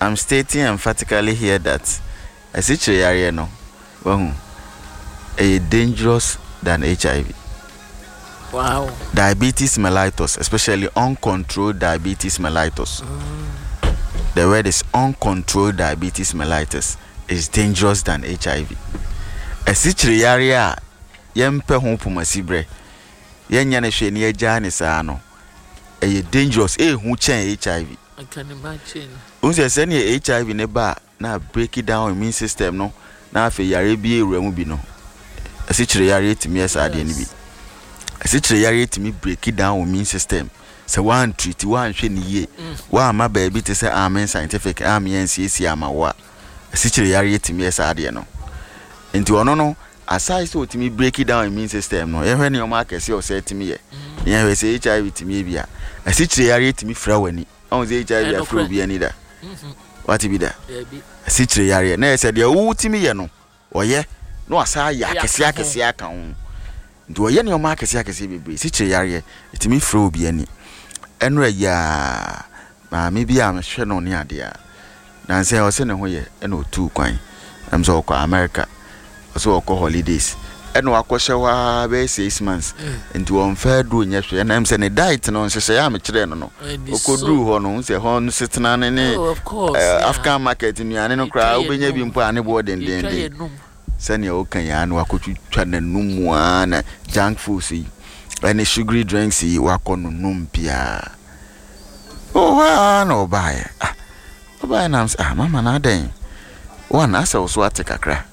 I'm stating emphatically here that asikyire yareɛ no, wahu, ɛyɛ dangerous than HIV. Wow. Diabetes mellitus, especially uncontrolled diabetes mellitus. The word is uncontrolled diabetes mellitus is dangerous than HIV. Asikyire yareɛ a yɛmpɛ ho pomasiberɛ, yɛnyɛ no hwee na yɛgyaa ne saa no, ɛyɛ dangerous, ɛhu kyɛn HIV. I can imagine. Wohu sɛ sɛnea HIV no ba a na break down immune system no na afei yareɛ bi awura mu bi no, asikyire yareɛ tumi yɛ saa adeɛ no bi. Asikyire yareɛ tumi break down immune system sɛ woantreat, woanhwɛ no yie, woamma baabi te sɛ Amen Scientific ammea ansiesie ama wo a, asikyire yareɛ tumi yɛ saa adeɛ no. Nti ɔno no, aside sɛ ɔtumi break down immune system no, yɛhwɛ nneɛma akɛseɛ a ɔsɛ tumi yɛ. Na yɛhwɛ sɛ HIV tumi yɛ bi a, asikyire yareɛ tumi fira w'ani. Ɔhu sɛ HIV afiri obi ani da. Wate bi da? Asikyire yareɛ. Na yɛ sɛ deɛ wotumi yɛ no, ɔyɛ na wasa ayɛ akɛseɛ akɛseɛ aka ho. Nti ɔyɛ nneɛma akɛseɛ akɛseɛ bebree. Asikyire yareɛ, ɛtumi firi obi ani. Ɛnora yi ara, maame bi a mehwɛ no ne adeɛ a, Nansa yi ɔse ne ho yɛ ɛna ɔtuu kwan ɛm sɛ ɔkɔ America ɔse ɔkɔ holidays ɛna wakɔhyɛ hɔ ara bɛyɛ 6 months nti ɔmfa aduro nyɛ hwee ɛna ɛm sɛ ne diet no nhyehyɛeɛ a mekyerɛɛ no no ɔkɔduruu hɔ no wohu sɛ hɔ no setena no ne African market nnuane no koraa wobɛnya bi mpo a ne boɔ dendenden sɛnea ɔka yi ara na wakɔtwitwa n'anum ara na junk foods yi ɛne sugary drinks yi wakɔ nonom biara Ɔwɔ hɔ ara na ɔbaeɛ. Ah, ɔbaeɛ na mesɛ, ah, mama na adɛn? One, asɛ wo so ate kakra.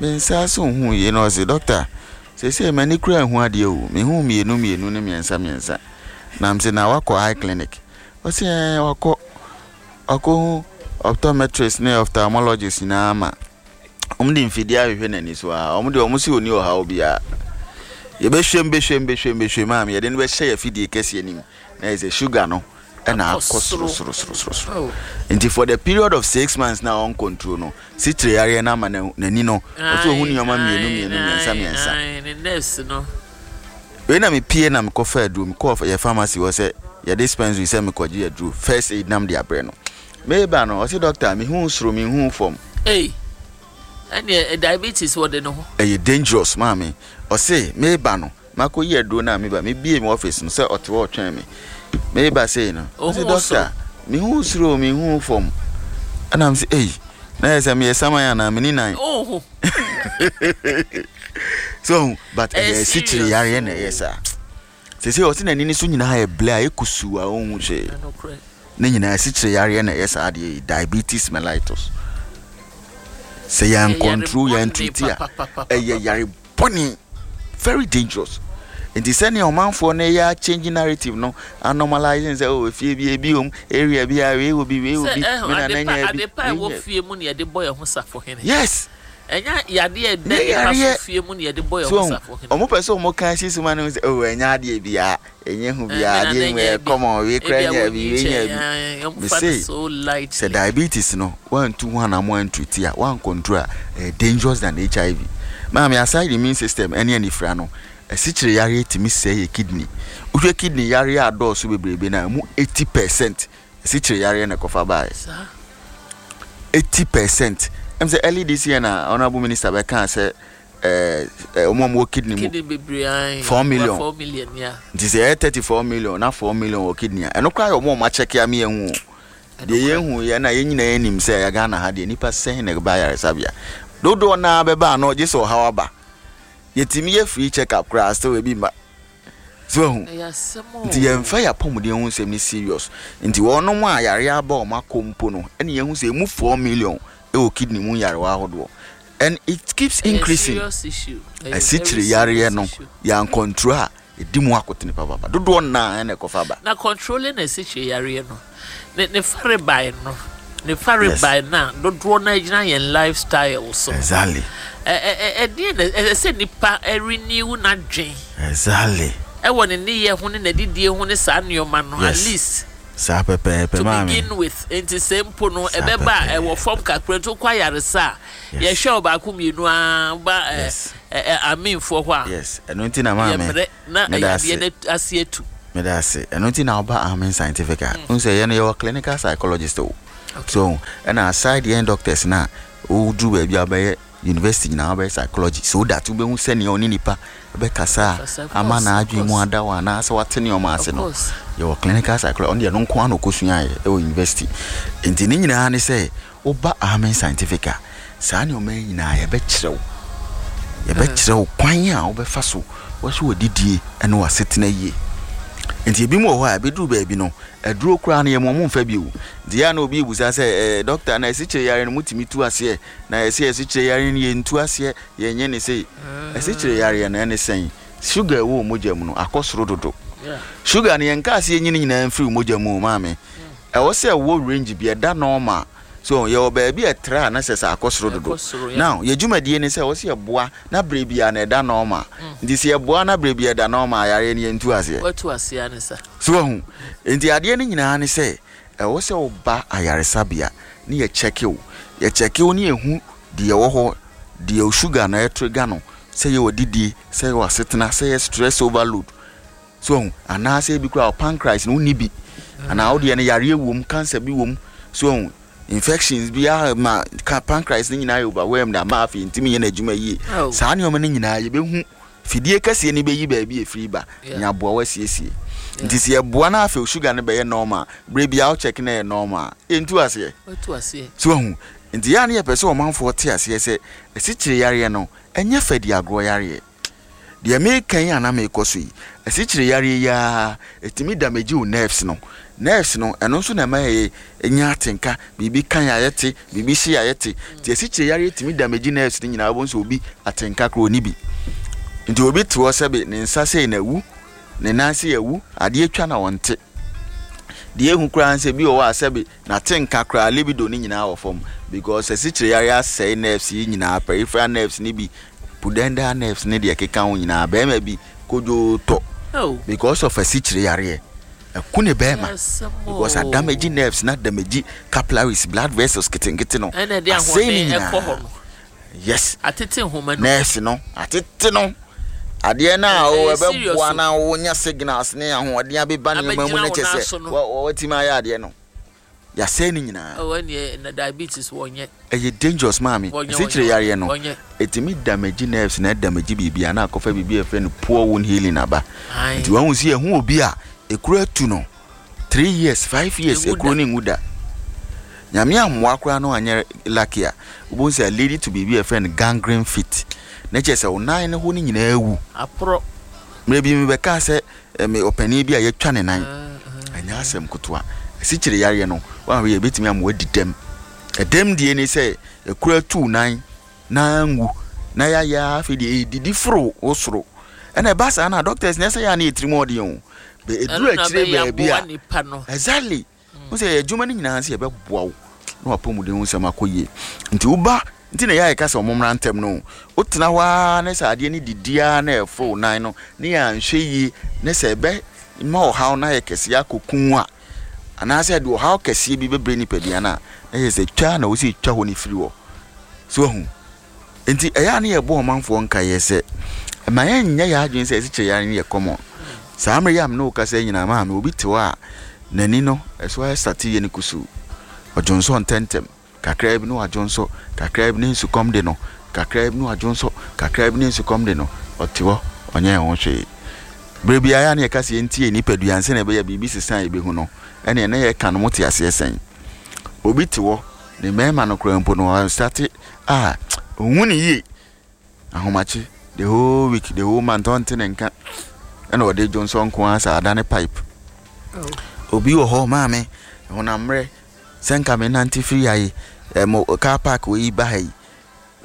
Me nsa so nhu yie na ɔse, dɔkta, seesei m'ani koraa nhu adeɛ o. Mehu mmienu mmienu ne mmiɛnsa mmiɛnsa. Na mese, na wakɔ eye clinic? Ɔse, ɛɛ, wakɔ. Wakɔhu optometrist ne ophthalmologist nyinaa ma wɔn de mfidie ahwehwɛ n'ani so a wɔn deɛ wɔn se ɔni ɔhaw biara. Yɛbɛhwɛm bɛhwɛm bɛhwɛm bɛhwɛm a yɛde no bɛhyɛ yɛ afidie kɛseɛ no mu. Na yɛ sɛ sugar no ɛna akɔ soro soro soro soro soro. Nti for the period of 6 months na ɔn control no, sikyire yareɛ no ama n'ani no ɔsɛ ohun nneɛma mmienu mmienu mmiɛnsa mmiɛnsa. Ne nerves no. Wei na mepie na mekɔfa aduro, mekɔɔ yɛ pharmacy hɔ sɛ yɛ dispensary sɛ mekɔgye aduro first aid nam de abrɛ no. Meba no ɔse, "Doctor, mehu soro, mehu fam." Ei, ɛneɛ diabetes wɔ de ne ho. Ɛyɛ dangerous, maame. Ɔse meba no makɔyi aduro no a meba mebie me office no sɛ ɔte hɔ ɔtwɛn me. Meba sei no ɔse, "Doctor, mehu soro, mehu fam." Ɛna mese, "Ei, na yɛ sɛ meyɛ saman anaa meni nan?" Ohu. So but ɛyɛ asikyire yareɛ na ɛyɛ saa. Sese ɔse n'ani no so nyinaa yɛ blɛ a ɛkusu a ɔnhu hwee. Ne nyinaa asikyire yareɛ na ɛyɛ saa adeɛ yi, diabetes mellitus. Sɛ yɛn control yɛn treat a, ɛyɛ yare bɔne, very dangerous. Nti sɛnea ɔmanfoɔ no yɛ change narrative no, anormalizing sɛ, oh, efie bi ebi om, area bi a wei wɔ bi, wei wɔ bi, me nana nya bi. Adepa a ɛwɔ fie mu na yɛde bɔ yɛn ho safohene. Yes. Ɛnyɛ yadeɛ a ɛda nipa so fie mu na yɛde bɔ yɛn ho safohene. Ɔmo pɛ sɛ ɔmo ka si so ma no sɛ, oh, ɛnyɛ adeɛ biara, ɛnyɛ hu biara, adeɛ mu ɛyɛ common, wei kura nya bi, wei nya bi. Mese sɛ diabetes no wantu ho anamo antreat a, wan control a, ɛyɛ dangerous than HIV. Maame, aside immune system ɛne anifira no, asikyire yareɛ tumi sɛe yɛ kidney. Wohwɛ kidney yareɛ a dɔɔso bebrebe no a, ɛmu 80% asikyire yareɛ na ɛkɔfa baeɛ. 80%. Ɛm sɛ early this year na honourable minister bɛkaa sɛ ɛɛ wɔn a wɔwɔ kidney mu kidney bebree ayi 4 million. 4 million, yeah. Nti sɛ ɛyɛ 34 million na 4 million wɔ kidney a, ɛno koraa yɛ wɔn a wɔn akyɛke ama yɛn hu o. Deɛ yɛn hu yɛ na yɛn nyinaa yɛn nim sɛ ɛyɛ Ghana ha deɛ, nipa sɛn na ɛba ayaresabea dodoɔ naa bɛba ano gye sɛ ɔhaw aba. Yɛtumi yɛ free check up koraa, still ebi mma so ehu. Ɛyɛ asɛm o. Nti yɛmfa yɛ apɔmuden ho nsɛm no serious. Nti wɔnom a yare aba wɔn akɔ mpo no, ɛna yɛn hu sɛ emu 4 million ɛwɔ kidney mu nyarewa ahodoɔ and it keeps increasing. Serious issue. Asikyire yareɛ no, yɛn control a, ɛdi mu akotene papapa dodoɔ naa ɛna ɛkɔfa ba. Na controlling asikyire yareɛ no, ne farebae no, ne farebae na dodoɔ no gyina yɛn lifestyle so. Ɛdeɛ na ɛsɛ sɛ nipa renew n'adwen ɛwɔ ne nneyɛ ho ne n'adidie ho ne saa nneɛma no at least Saa pɛpɛɛpɛ, to maame. Begin with. Nti sɛ mpo no ɛbɛba a, ɛwɔ fam kakra nti wokɔ ayaresa a, yɛhwɛ ɔbaako mmienu a woba ɛ aminfoɔ hɔ a, Yes, ɛno nti na maame yɛmmerɛ na meda yadeɛ ase. No ase atu. Meda ase. Ɛno nti na woba Amen Scientific a, n sɛ yɛn no yɛwɔ clinical psychologist o. So ɛna aside yɛn doctors no a woduru baabi a wobɛyɛ university nyinaa wobɛyɛ psychology so that wobɛhu sɛnea ɔne nipa bɛkasa a ama n'adwene mu ada hɔ anaasɛ wate nneɛma ase no. Yɛwɔ clinical psychology, ɔno deɛ ɛno nko ara na ɔkɔsuaeɛ wɔ university. Nti ne nyinaa ne sɛ woba Amen Scientific a, saa nneɛma yi nyinaa yɛbɛkyerɛ wo. Yɛbɛkyerɛ wo kwan a wobɛfa so wɔahyɛ w'adidie ne w'asetena yie. Nti ebinom wɔ hɔ a ɛbɛduru baabi no, aduro koraa no yɛma wɔn mfa bio. Nti yɛ a na obi rebisa sɛ, ɛɛ dɔkta na asikyire yare no motumi tu aseɛ? Na yɛse asikyire yare no yɛntu aseɛ, yɛnyɛ ne sei. Asikyire yareɛ no ɛne sɛn? Sugar ɛwɔ wo mogya mu no akɔ soro dodo. Sugar no yɛnkaa sɛ yɛnyi ne nyinaa mfiri wo mogya mu o maame. Ɛwɔ sɛ ɛwɔ range bi, ɛda normal. So yɛwɔ baabi a ɛtra a na sɛ sɛ akɔ soro dodo. Now yɛ dwumadie ne sɛ ɛwɔ sɛ yɛboa na berɛ biara no ɛda normal. Nti sɛ yɛboa na berɛ biara ɛda normal a yareɛ no yɛntu aseɛ. Watu aseɛ ne sa. So wahu? Nti adeɛ no nyinaa ne sɛ ɛwɔ sɛ woba ayaresabea ne yɛ kyɛke wo. Yɛ kyɛke wo ne yɛhu deɛ ɛwɔ hɔ, deɛ wo sugar no ɛtrigger no, sɛ ɛyɛ w'adidie, sɛ ɛyɛ w'asetena, sɛ ɛyɛ stress overload. So wahu? Anaasɛ ebi koraa wo pancreas no wonni bi, anaa wo deɛ no yareɛ wom, cancer bi wom. So wahu? Infections bi ama ka pancreas no nyinaa yɛ overwhelmed ama afei ntumi nyɛ n'adwuma yie. Oh. Saa nneɛma no nyinaa yɛbɛhu fidie kɛseɛ no bɛyi baabi a ɛfiri ba na aboa wo asiesie. Nti sɛ yɛboa no afei sugar no bɛyɛ normal, berɛ biara wo check na ɛyɛ normal a, yɛntu aseɛ. Watu aseɛ. So wahu? Nti yɛ a na yɛpɛ sɛ ɔmanfoɔ te aseɛ sɛ asikyire yareɛ no ɛnyɛ fɛdi agorɔ yareɛ. Deɛ mereka yi a na merekɔ so yi, asikyire yareɛ yi ara, ɛtumi damage wo nerves no. Nerves no, ɛno nso na ɛma yɛnya atenka, biribi ka yɛn a yɛte, biribi hye yɛn a yɛte. Nti asikyire yareɛ tumi damage nerves no nyinaa, wobɛhu sɛ obi atenka koraa ɔnni bi. Nti obi te hɔ sɛbe ne nsa sei na awu, ne nan sei awu, adeɛ twa na ɔnte. Deɛ ɛhu koraa ne sɛ bi wɔ hɔ a sɛbe N'atenka koraa, libido no nyinaa wɔ fam because asikyire yareɛ asɛe nerves yi nyinaa, peripheral nerves no bi, pudendal nerves ne deɛ ɛkeka ho nyinaa. Barima bi kodwoo tɔ because of asikyire yareɛ. Ɛku ne barima because adamage nerves na adamage capillaries, blood vessels ketenkete no. Asɛe ne nyinaa. Yes. Atete nhoma no. Nerves no, atete no. Adeɛ no a ɛbɛboa na wonya signals ne ahoɔden abeba nneɛma mu no kyɛ sɛ wɔatumi ayɛ adeɛ no. Yɛasɛe ne nyinaa. Oh, ɛneɛ na diabetes wɔnyɛ. Ɛyɛ dangerous maame. Asikyire yareɛ no, ɛtumi damage nerves na ɛdamage biribi a na akɔfa biribi a yɛfrɛ no poor wound healing aba. Nti wahu sɛ yɛhu obi a ekuro atu no 3 years, 5 years, ekuro no nwu da. Nyame ammoa koraa no anyɛ lucky a, wobɛhu sɛ lead to biribi a yɛfrɛ no gangrene feet. Na kyerɛ sɛ wo nan no hɔ no nyinaa awu. Aporɔ. Mmerɛ bi mebɛkaa sɛ me ɔpanin bi a yɛatwa ne nan. Ɛnyɛ asɛm ketewa. Asikyire yareɛ no, woanhwɛ yie a, ɛbɛtumi ama woadi dɛm. Ɛdɛm die ne sɛ, ekuro atu wo nan na anwu na yɛayɛ ara afei deɛ ɛredidi foro wo soro. Ɛna ɛba saa no a, doctors nyɛ sɛ yɛ a na yɛ tirim ɔden o. Bɛ ɛduru akyire baabi a, exactly. Wo sɛ yɛ adwuma no nyinaa sɛ yɛbɛboa wo na w'apɔmuden ho nsɛm akɔ yie. Nti woba nti na ɛyɛ a yɛka sɛ wɔn mmra ntɛm no. Wotena hɔ ara ne sɛ adeɛ no didi ara na ɛforo wo nan no ne yɛanhwɛ yie ne sɛ ɛbɛ ma ɔhaw no ayɛ kɛseɛ akɔku wo a, anaasɛ ɛde ɔhaw kɛseɛ bi bɛbrɛ nipadua no a, na kyerɛ sɛ twa na wɔ sɛ twa hɔ no firi hɔ. So wahu? Nti ɛyɛ a na yɛbɔ ɔmanfoɔ nkaeɛ sɛ ma yɛnyɛ yɛn adwene sɛ asikyire yare no yɛ common. Saa mmerɛ yi a me ne wo kasa yi nyinaa maame obi te hɔ a n'ani no ɛso ayɛ sate yɛ no kusuu. Ɔdwonsɔ ntɛntɛm, kakraa bi na wadwonsɔ, kakraa bi na nsukɔm de no, kakraa bi na wadwonsɔ, kakraa bi na nsukɔm de no, ɔte hɔ ɔnyɛ ho hwee. Berɛ biara ɛyɛ a na yɛka sɛ yɛntie nipadua ansa na ɛbɛyɛ biribi sesa a yɛbɛhu no, ɛneɛ na yɛka no mote aseɛ sɛn? Obi te hɔ ne mmarima no koraa mpo no ɔstate a ɔnhu ne yie ahomakye the whole week the whole month ɔnte ne nka ɛna ɔde dwonsɔ nko ara saa adane pipe oh. Obi wɔ hɔ maame honam mmerɛ sɛ nka me nante firi ha yi ɛmo car park wɔ yi ba ha yi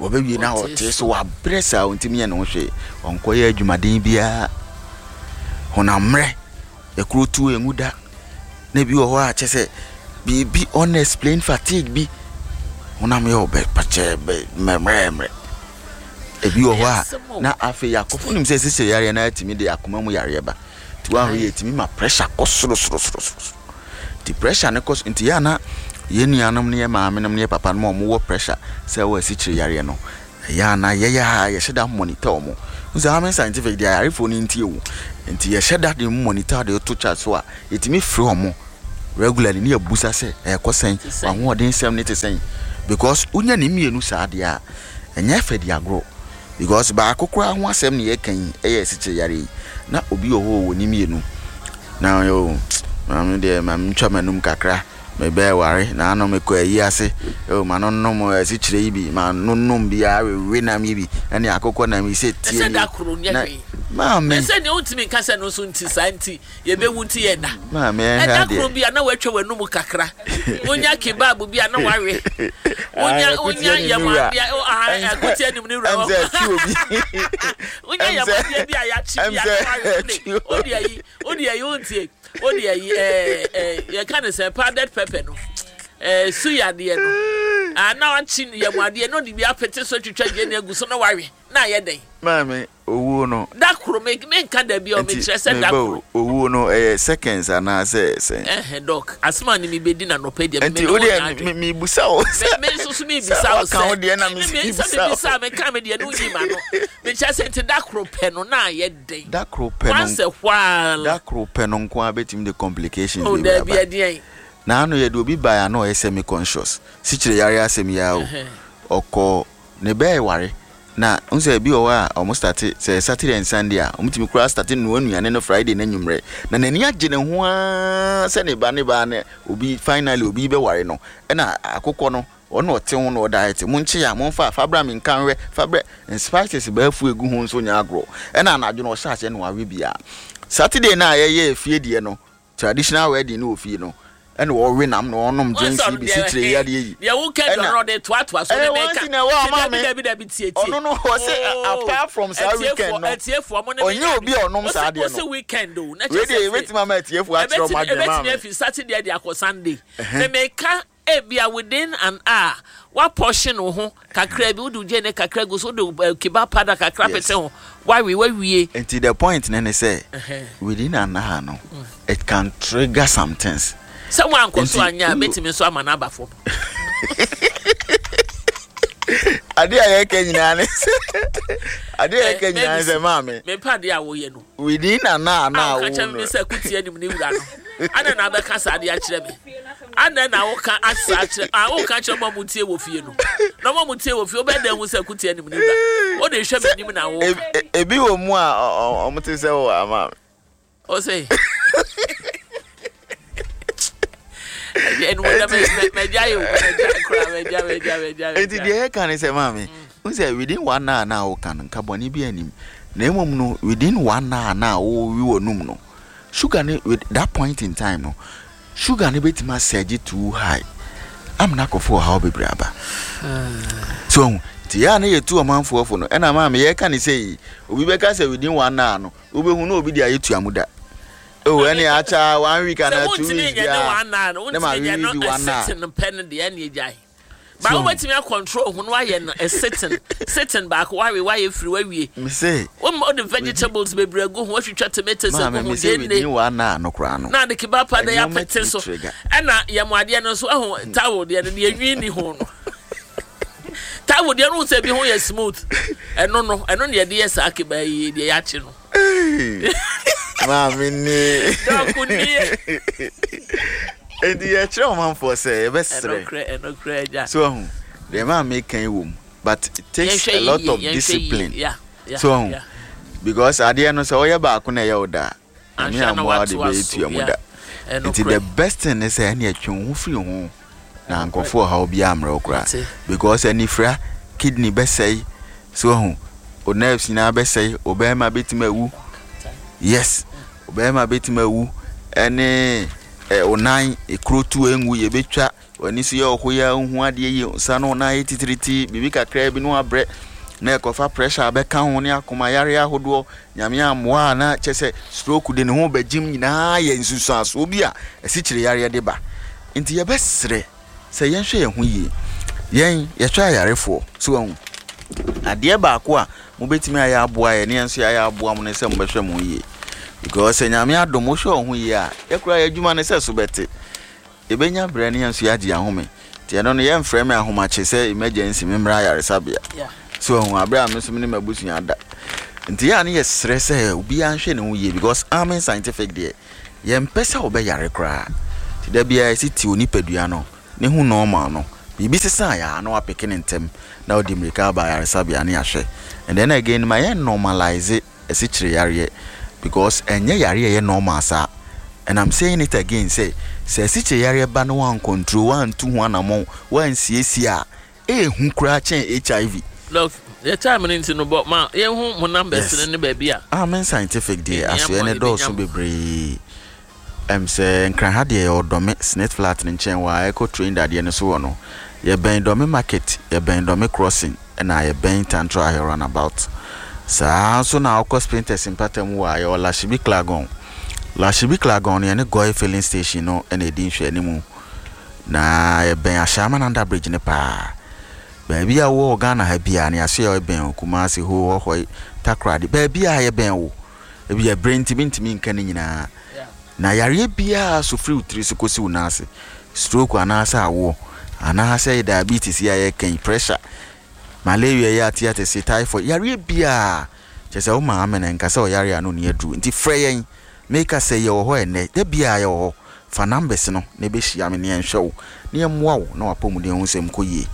wɔbɛwie na ɔte so wabrɛ saa ɔntumi yɛ ne ho hwee ɔnkɔyɛ adwumaden biara honam mmerɛ Ekuro tu enwu da. Na ebi wɔ hɔ a kyɛ sɛ biribi unexplained fatigue bi honam yɛ ɔbɛ pakyɛ bɛ mmerɛmmerɛ. Ebi wɔ hɔ a na afei akɔfo nim sɛ sisi yareɛ na atumi de akoma mu yareɛ ba. Nti wɔahwɛ yɛ etumi ma pressure kɔ soro soro soro soro. Nti pressure no kɔ so nti yɛ ana yɛn nuanom ne yɛn maamenom ne yɛn papanom a wɔwɔ pressure sɛ wɔ asikyire yareɛ no Ɛyɛ a na yɛyɛ a yɛhyɛ da monitor wɔn. Wohu sɛ Amen Scientific deɛ ayarefoɔ no ntie o. Nti yɛhyɛ da de monitor de to chart so a, yɛtumi frɛ wɔn. Regularly ne yɛbusa sɛ ɛkɔ sɛn, w'ahoɔden sɛm ne te sɛn because wonya ne mmienu saa deɛ a ɛnyɛ fɛ di agorɔ because baako koraa ho asɛm ne yɛka yi ɛyɛ asikyire yareɛ yi na obi wɔ hɔ ɔwɔ ne mmienu na ɔyɛ o maame deɛ maame ntwa m'anum kakra mebɛɛ ware na ano mekɔ ayi ase o ma no nom asikyire yi bi ma no nom bi a wewe nam yi bi ɛne akokɔ nam yi sɛ tie ni na maame ɛsɛ nea wontumi nka sɛ no nso nti saa nti Yɛbɛwu nti yɛnna. Maame ɛhwɛ adeɛ. Ɛda koro bi a na watwa w'anum kakra. Wonya kebab bi a na wawe. Wonya wonya yam adeɛ ɛkote anim ne wura. Ɛm sɛ ɛtwi obi. Wonya yam adeɛ bi a yɛakye bi a na wawe. Wode ayi wode ayi wontie wode ayi ɛɛ ɛɛ yɛka ne sɛ powdered pepper no ɛɛ suya adeɛ no. Ah na wakye yam adeɛ na ɔde bi apete so atwitwa gyeene agu so na wawe na ayɛ dɛn. Maame. Owuo no. Da koro, me menka da bi a, mekyerɛ sɛ da koro. Nti meba o, owuo no ɛyɛ seconds anaa sɛ sɛn? Ɛhɛn doc, asɛm a ne mebɛdi no anɔpa yi deɛ, me Nti ne wo wo nyɛ deɛ adwene. me mebisa wo sɛ. Me nso so mebisa wo sɛ. Sɛ waka wo deɛ na me nso mebisa wo. Sɛ mebisa meka me deɛ no nyi ma no. Mekyerɛ sɛ nti da koro pɛ no na ayɛ dɛn? Da koro pɛ no. Once a while. Da koro pɛ no nko ara bɛtumi de complications Oh bebree daabi aba. ɛdeɛn? Naano yɛde obi baeɛ a na ɔyɛ semi conscious, sikyire yareɛ asɛm yi ara o, ɔkɔ ne bɛɛware Na wohu sɛ ebi wɔ hɔ a wɔn starte sɛ Saturday and Sunday a wɔn tumi koraa starte noa nnuane no Friday n'anwummerɛ na n'ani agye ne ho ara sɛ ne ba ne ba ne obi finally obi bɛware no ɛna akokɔ no ɔno ɔte ho na ɔdiet mo nkye a momfa fa bra me nka nhwɛ fa brɛ spices baafu egu ho nso nyɛ agorɔ ɛna anadwo no ɔhyɛ aseɛ na wawe bia Saturday no a yɛyɛ efie deɛ no Traditional wedding no wɔ fie no ɛna ɔwe nam na ɔnom drinks yi bi sikyire yi adeɛ yi. Deɛ wo kɛ dɔn ɔde toatoa so ne mɛka. Ɛwɔ na ɛwɔ ama me. Dabi dabi tie tie. Ɔno no ɔsɛ apart from saa weekend no. Atiefoɔ mo ne me. Ɔnyɛ obi a ɔnom saa adeɛ no. Ɔsɛ weekend o. Wei deɛ ebetumi ama atiefoɔ akyerɛ ɔmo adwene maa me. Ebetumi afi Saturday de akɔ Sunday. Me meka Ebia within an hour, woapɔhyen wo ho kakra bi, wode wo gyeene kakra gu so, wode eh, kebab powder kakra Yes. pete ho, woawe, woawie. Nti the point no ne sɛ within an hour no it can trigger some things. Sɛ woankɔ so Nti anyɛ a, wo- bɛtumi nso ama no aba fam. Adeɛ a yɛka nyinaa ne sɛ adeɛ a yɛka Eh, nyinaa ne sɛ Mavis, maame mepɛ adeɛ a woyɛ no. within an hour A na woka wo kyerɛ me no sɛ kutia nim ne wura no. Adɛn na abɛka saa adeɛ akyerɛ me? Adɛn na woka asa akyerɛ a woka kyerɛ mo a motie wɔ fie no? Na mo a motie wɔ fie wobɛyɛ dɛn hu sɛ kutia nim ne wura? Wode hwɛ m'anim na woka. Ebi wɔ mu a ɔmo te sɛ wɔ ama me. O se. Enti deɛ yɛka ne sɛ maame n sɛ within one hour na woka no nka bɔne bi anim na mmom no within one hour na wowe wɔ num no sugar ne with that point in time no sugar no bɛtumi asɛgye too high amena akɔfo ɔhaw bebree aba so ɔhu nti yɛ a na yɛtu ɔmanfoɔ fo no ɛna maame yɛka ne sɛ yi obi bɛka sɛ within one hour no wobɛhu na obi de ayɛ tua mu da oh ɛne akyɛ one week anaa 2 weeks biara na ma wewe bi one hour pɛ no deɛ ɛne agyae ba wobɛtumi akɔntrol ho no wayɛ no sitting sitting baako wawe wayɛ firi wawie mese wode vegetables bebree agu ho watwitwa tomatoes agu ho gyeene no koraa no na ade kebab powder yɛ apete so ɛna yɛmo adeɛ no nso ɛho towel deɛ no deɛ nwi ni ho no towel deɛ no sɛ bi ho yɛ smooth ɛno no ɛno na yɛde yɛ saa kebab yi deɛ yɛakye no Maame nie. Dɔko nie. Enti yɛkyerɛ ɔmanfoɔ sɛ yɛbɛsrɛ. Ɛnokorɛ ɛnokorɛ agya. So ahu deɛ maame kan yi wɔ mu but it takes a lot of discipline. So ahu because adeɛ no sɛ ɔyɛ baako na ɛyɛ wo da a nyame amoa wo de bɛyɛ tua mu da. Nti the best thing ne sɛ ɛne ɛtwe wo ho firi ho na nkurɔfoɔ ɔhaw biara mmerɛ wo koraa because anifira kidney bɛsɛe So wahu? Wo nerves nyinaa bɛsɛe, wo bɛrima bɛtumi awu. Yes, wo bɛrima bɛtumi awu. Ɛne ɛ, wo nan, ekuro tu engu, yɛbɛtwa. W'ani so yɛ ɔho yɛ wohu adeɛ yie, nsa no wo nan yɛ titiriti, biribi kakraa bi no abrɛ. Na ɛkɔfa pressure abɛka ho ne akoma yareɛ ahodoɔ. Nyame ammoa a na kyɛ sɛ stroke de ne ho bɛgyem nyinaa yɛ nsunsuansoɔ bi a asikyire yareɛ de ba. Nti yɛbɛsrɛ. Sɛ yɛnhwɛ yɛn ho yie. Yɛn, yɛhwɛ ayarefoɔ. So wahu? Adeɛ baako a mobɛtumi ayɛ aboa yɛn ne yɛn nso yɛayɛ aboa mo ne sɛ mobɛhwɛ mo ho yie. Because sɛ Nyame adom wohwɛ wo ho yie a, yɛ koraa yɛn adwuma no sɛ so bɛte. Yɛbɛnya berɛ ne yɛn nso yɛagye yɛn ahome. Nti ɛno no yɛmfrɛ me ahomakye sɛ emergency memmra ayaresabea. So wahu? Aberɛ a me nso me ne m'abusua da. Nti yɛ a ne yɛsrɛ sɛ obiara nhwɛ ne ho yie because Amen Scientific deɛ, Yɛmpɛ sɛ wobɛyare koraa. Nti da biara yɛse ti onipadua no ne ho normal no, biribi sesa a na wapeke no ntɛm na wode mmirika aba ayaresabea ne yɛahwɛ. And then again ma yɛn normalise asikyire yareɛ because ɛnyɛ yareɛ a ɛyɛ normal saa. And I'm saying it again sɛ, sɛ asikyire yareɛ ba na woancontrol, woantu ho anamɔn, woansiesie a, ɛyɛ hu koraa kyɛn HIV. Doc, yɛ time no nti no bɔ ma yɛnhu mo numbers no ne baabi a. Amen Scientific deɛ asoɛ no dɔɔso bebree. Ɛm sɛ Nkran ha deɛ yɛwɔ Dɔme Snit Flat no nkyɛn wɔ a ɛkɔ train dadeɛ no so hɔ no. Yɛbɛn Dɔme Market, yɛbɛn Dɔme Crossing ɛna yɛbɛn Tantra Hill Runabout. Saa ara nso na wokɔ Spintex mpata mu hɔ a yɛwɔ Lashibi Klagon. Lashibi Klagon no yɛne Goil Filling Station no na ɛdi nhwɛanimu. Na yɛbɛn Ashaiman Under Bridge no paa. Baabi a wowɔ wɔ Ghana ha biara no yɛasoɛ yɛbɛn wo, Kumasi, Ho, Hohoe, Takoradi, baabiara yɛbɛn wo. Ebia bere nti mintumi nka ne nyinaa. Na yareɛ biara so firi wo tiri so kɔsi wo nan ase, stroke anaasɛ awoɔ, anaasɛ diabetes yi a yɛreka yi, pressure, malaria yi a ate atese, typhoid, yareɛ biara, kyerɛ sɛ wo maame no nka sɛ ɔyare a na ɔnni aduru. Nti frɛ yɛn, meka sɛ yɛwɔ hɔ ɛnnɛ, da biara yɛwɔ hɔ. Fa numbers no na ɛbɛhyia me na yɛnhwɛ wo na yɛmmoa wo na w'apɔmuden ho nsɛm nkɔ yie.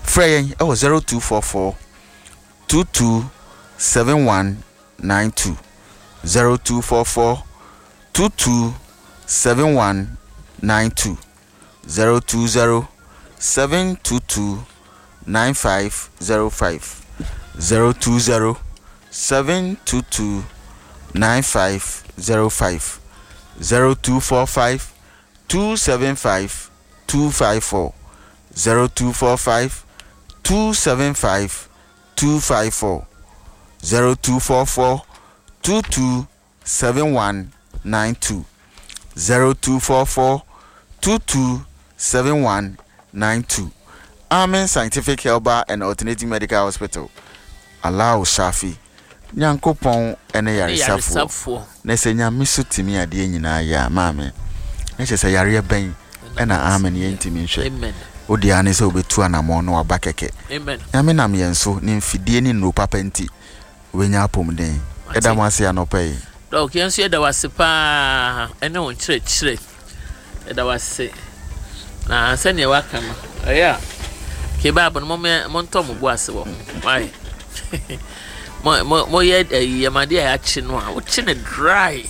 Frɛ yɛn wɔ 0244 22 71 92 0244 22 71 92 020 722 9505 020 722 9505 0245 275 254 0245 275 254 0244 22 7192 0244 22 7192 Amen Scientific Herbal and Alternative Medical Hospital Allahu Shafi Nyankopɔn ne yaresafoɔ Na sɛ Nyame so tumi adeɛ nyinaa yɛ a maame na kyerɛ sɛ yareɛ bɛn ɛna amen yɛntumi nhwɛ. Wo deɛ ara ne sɛ wobɛtu anamɔn na waba kɛkɛ. Nyame nam yɛn so ne mfidie ne nnuro papa nti wobɛnya apɔmuden. Yɛda mo ase anɔpa yi. Doc yɛn nso yɛda wo ase paa ɛne wo nkyerɛkyerɛ yɛda wo ase na sɛnea waka no ɛyɛ a kebab no montɔ mo bo ase wɔ ho why mo mo moyɛ ɛyi yɛmade a yɛakye no a wokye no dry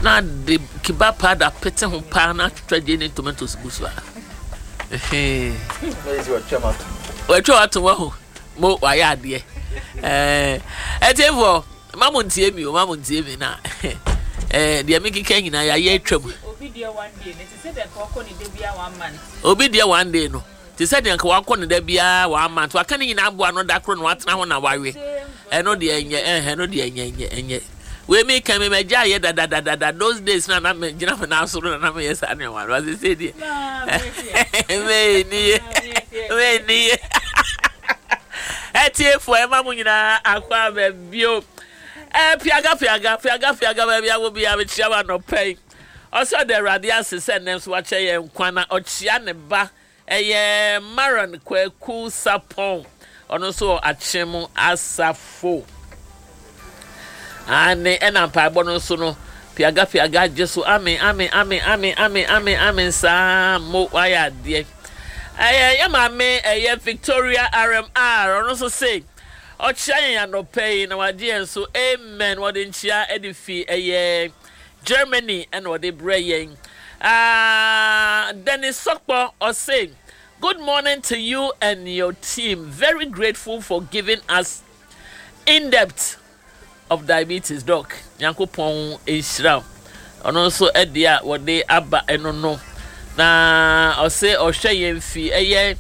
na de kebab powder pete ho paa na atwitwa gyeene ne tomatoes gu so a wɔatwa wato wɔ ho mo wayɛ adeɛ ɛɛ ɛtiɛfoɔ ma mo ntie mi o ma mo ntie mi na ɛɛ deɛ mi keka nyinaa yɛayɛ atwam obi deɛ one day no te sɛ deɛ nka wakɔ ne da biara one month obi deɛ one day no te sɛ deɛ nka wakɔ ne da biara one month waka ne nyinaa aboa no da koro na watena ho na wawe ɛno deɛ ɛnyɛ ɛhɛ ɛno deɛ ɛnyɛ ɛnyɛ ɛnyɛ wei mi kan mi ma gya yɛ dadadadada those days na na mi gyina mi nan so na na mi yɛ saa nneɛma no ase sɛ deɛ mɛ ni yɛ mɛ ni yɛ ɛtiefo ɛma mo nyinaa akɔ abɛ bio ɛɛ piaga piaga piaga piaga baabi awo bi abekyia wa nɔpɛ yi ɔsɛ ɔda awurade ase sɛ nnɛ nso wakyɛ yɛn nkwa na ɔkyia ne ba. Ɛyɛ Maron Kwaku Sarpong, ɔno nso wɔ Akyem Asafo. Aane, ɛna mpaebɔ no nso no, piaga piaga gye so, amen, amen, amen, amen, amen, amen, amen, saa mo wayɛ adeɛ. Ɛyɛ yɛ maame ɛyɛ Victoria RMR, ɔno nso se ɔkyea yɛn anɔpa yi na wagye yɛn so, amen. Wɔde nkyea de fi ɛyɛ Germany na ɔde brɛ yɛn. Ah, Dennis Sokpo ɔse, Good morning to you and your team. Very grateful for giving us in-depth of diabetes, Doc. Nyankopɔn nhyira wo. Ɔno nso ɛde a wɔde aba ɛno no. Na ɔse ɔhwɛ yɛn fi ɛyɛ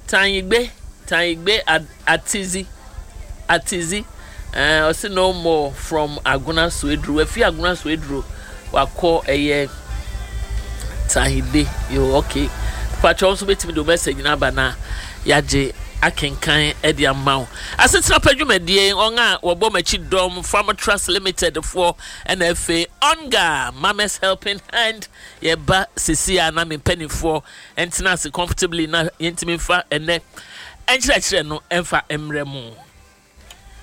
Tanyigbe, Tanyigbe Atizi, Atizi, eh, ɔse no more from Agona Soeduro. Wafi Agona Soeduro, wakɔ ɛyɛ Tanyigbe. Yo, okay. Pakyɛ nso bɛtumi de wo message no aba na yɛagye akenkan de ama wo. Asetena pa dwumadie, wɔn a wɔbɔ m'akyi dɔm, Farm Trust Limited foɔ, ɛna afei Onga, Mama's Helping Hand, yɛba sisi a na me mpanimfoɔ ntena ase comfortably na yɛntumi mfa ɛnnɛ nkyerɛkyerɛ no mfa mmrɛ mo.